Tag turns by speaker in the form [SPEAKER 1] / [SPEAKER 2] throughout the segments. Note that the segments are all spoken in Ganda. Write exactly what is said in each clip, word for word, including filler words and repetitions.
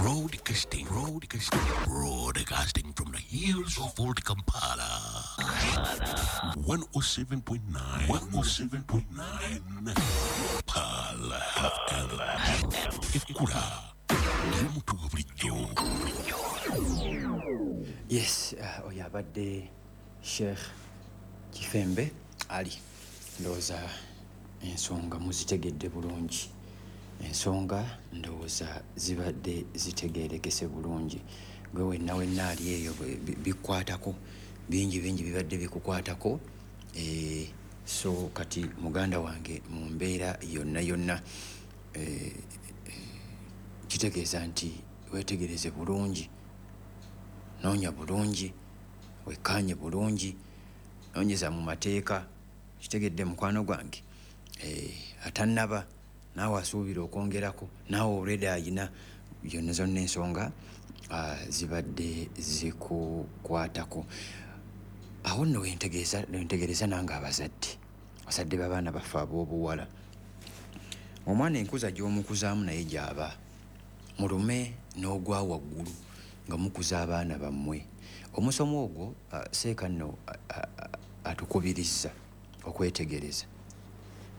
[SPEAKER 1] Broadcasting, broadcasting, broadcasting from the hills of Old Kampala. one oh seven point nine, one oh seven point nine. Pearl F M. Ekula. Y'omutugo bulijjo.
[SPEAKER 2] Yes, uh, oyo abadde Sheikh Kifembe Ali. Ndowooza ensonga muzitegedde bulungi. Ensonga ndowooza zibadde zitegeerekese bulungi. Gwe wenna wenna ali eyo bikwatako, bingi bingi bibadde bikukwatako. Eh, so kati muganda wange mu mbeera yonna yonna, eh, kitegeeza nti weetegereze bulungi, noonya bulungi, wekkaanye bulungi, noonyeza mu mateeka. Kitegedde mukwano gwange, eh, atannaba naawe asuubira okwongerako, naawe already ayina yonna zonna ensonga uh, zibadde zikukwatako. Awo nno wentegeeza, wentegereza nange abazadde, abazadde b'abaana baffe ab'obuwala. Omwana enkuza gy'omukuzaamu naye gy'aba, mulume n'ogwa waggulu nga mukuza abaana bammwe. Omusomo ogwo uh, seeka nno uh, uh, atukubiriza okwetegereza.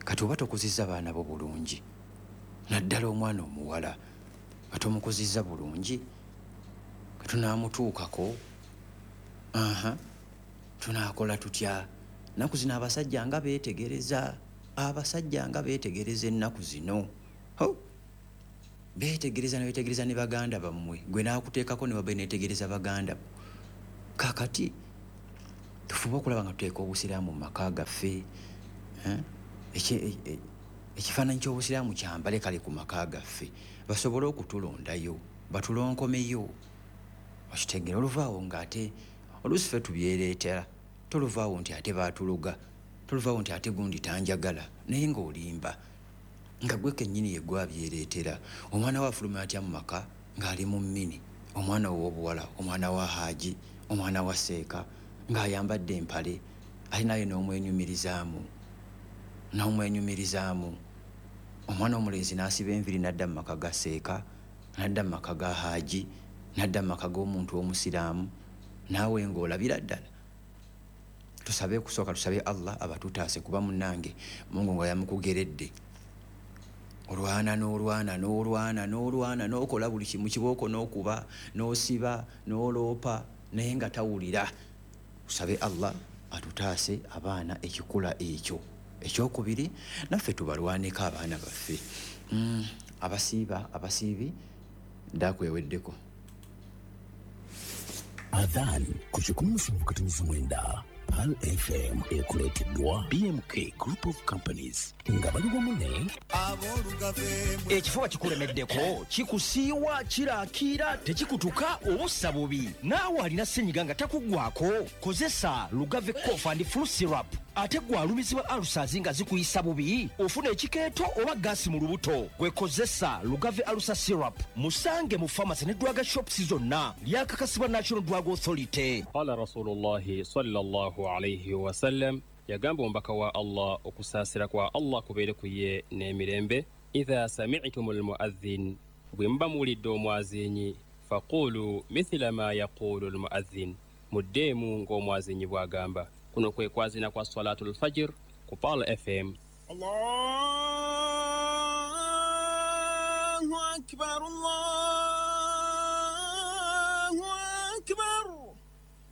[SPEAKER 2] Kati oba tokuzizza baana bo bulungi, naddala omwana omuwala nga tomukuzizza bulungi, katunaamutuukako, aha, tunaakola tutya? Ennaku zino abasajja nga beetegereza, abasajja nga beetegereza ennaku zino. Ho! Beetegereza ne beetegereza ne baganda bammwe, gwe n'akuteekako ne babe neetegereza baganda bo. Kaakati tufube okulaba nga tuteeka obusiraamu mu maka gaffe. Eh? Ekifaananyi ky'obusiraamu kyambale kale ku maka gaffe, basobole okutulondayo, batulonkomeyo. Okitegeera, oluvaawo ng'ate oluusi ffe tubyereetera, toluvaawo nti ate baatuluga, toluvaawo nti ate gundi tanjagala, naye ng'olimba nga gwe kennyini ye gwe abyereetera. Omwana we afuluma atya mu maka ng'ali mu mmini, omwana ow'obuwala, omwana wa haaji, omwana wa seeka, ng'ayambadde empale, ali naye n'omwenyumirizaamu, n'omwenyumirizaamu. Omwana omulenzi n'asiba enviiri n'adda mu maka ga seeka, n'adda mu maka ga haaji, n'adda mu maka g'omuntu omusiraamu, naawe ng'olabira ddala. Tusabe kusooka, tusabe Allah abatutaase, kuba munnange Mungu nga yamukugeredde. Olwana n'olwana n'olwana n'olwana n'okola buli kimu, kibooko n'okuba n'osiba n'oloopa, naye nga tawulira. Tusabe Allah atutaase abaana ekikula ekyo. Ekyokubiri, naffe tubalwaneko abaana baffe. Mm, abasiiba, abasiibi ndakweweddeko.
[SPEAKER 1] Adhan ku kikumi musanvu katono mwenda Pearl F M ekuleeteddwa B M K Group of Companies nga bali wamu ne
[SPEAKER 3] Ekifuba kikulemeddeko, kikusiiwa, kiraakira, tekikutuka, obussa bubi. Naawe alina ssenyiga nga takuggwako, kozesa Lugave Cough and Flu Syrup. Ate gwe alumizibwa ulcers nga zikuyisa bubi, ofuna ekikeeto oba gaasi mu lubuto, gwe kozesa Lugave Ulcer Syrup. Musange mu pharmacy ne drug shops zonna, lyakakasibwa National Drug Authority.
[SPEAKER 4] Qala Rasulullahi sallallahu alayhi wa sallam, yagamba omubaka wa Allah okusaasira kwa Allah kubeere ku ye n'emirembe, idha sami'tumul muadhdhin, bwe muba muwulidde omwazinyi, faqulu mithla ma yaqulu al-muadhdhin, muddeemu ng'omwazinyi bw'agamba. Kuno kwe kwazina kwa Salatul Fajr ku Pearl F M.
[SPEAKER 5] Allahu Akbar, Allahu